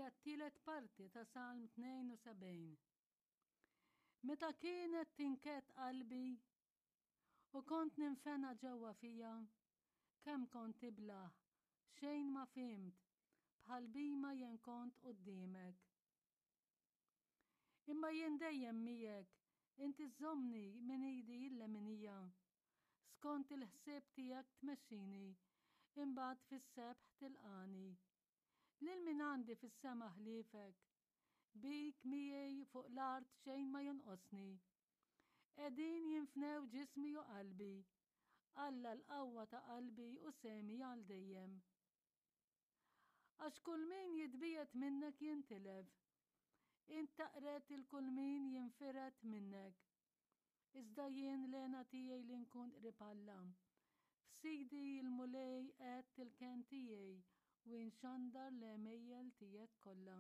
Hija t-tielet parti ta' Salm 72. Meta kienet tinkedd qalbi u kont ninfena ġewwa fija, kemm kont iblah, xejn ma fhimt, bħal bhima jien kont quddiemek. Imma jien dejjem miegħek, inti żżommni minn idi l-leminija. Skont il-ħsieb tiegħek tmexxini, imbagħad fis-sebħ tilqagħni. Lil min għandi fis-sema ħliefek? Bik miegħi fuq l-art xejn ma jonqosni. Qegħdin jinfnew ġismi u qalbi. Alla l-qawwa ta' qalbi u sehmi għal dejjem. Għax kull min jitbiegħed minnek jintilef. Int taqred 'il kull min jinfired minnek. Iżda jien l-hena tiegħi li nkun qrib Alla. F'Sidi l-Mulej għedt il-kenn tiegħi u inxandar l-għemejjel tiegħek kollha.